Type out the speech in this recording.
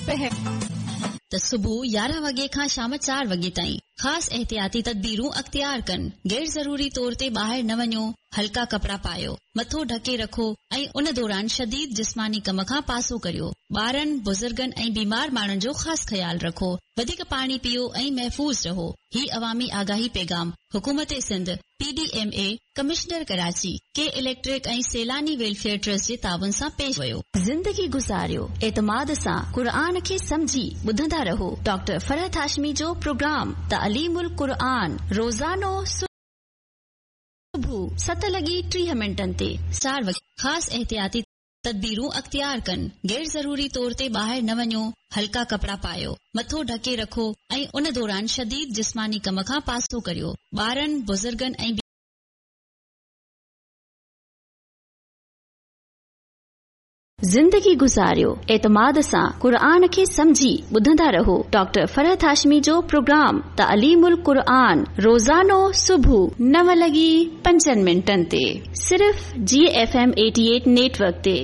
پهر. ته صبح 11 وڳي کان شام 4 وڳي تائين خاص احتياطي تدبيرون اختيار ڪن. غير ضروري طور تي ٻاهر نه وڃو، هلڪا ڪپڙا پايو، مٿو ڍڪي رکو ۽ ان دوران شديد جسماني ڪم کان پاسو ڪريو. ٻارن، بزرگن ۽ بيمار ماڻهن جو خاص خيال رکو. وڌيڪ پاڻي پيئو ۽ محفوظ رهو. هي عوامي آگاهي پيغام حڪومت Sindh, P D M A, commissioner Karachi, K electric ۽ Sailani welfare trust جي تعاون سان پيش ويو. زندگي گذاريو اعتماد سان قرآن کي سمجهي ٻڌندا رهو ڊاڪٽر فرحت هاشمي جو پروگرام تعليم القرآن روزانو صبح 7 لڳي 30 منٽن تي 4 وڳي خاص احتياطي تدبيرون اختيار ڪن، غير ضروري طور تي ٻاهر نه وڃو، هلڪا ڪپڙا پايو، مٿو ڍڪي رکو ۽ ان دوران شديد جسماني ڪم کان پاسو ڪريو. ٻارن، بزرگن ۽. زندگي گذاريو اعتماد سان قرآن کي سمجهي ٻڌندا رهو ڊاڪٽر فرحت هاشمي جو پروگرام تعليم القرآن روزانو صبح 9 لڳي 5 منٽن تي صرف جي ايف ايم 88 نيٽ ورڪ تي.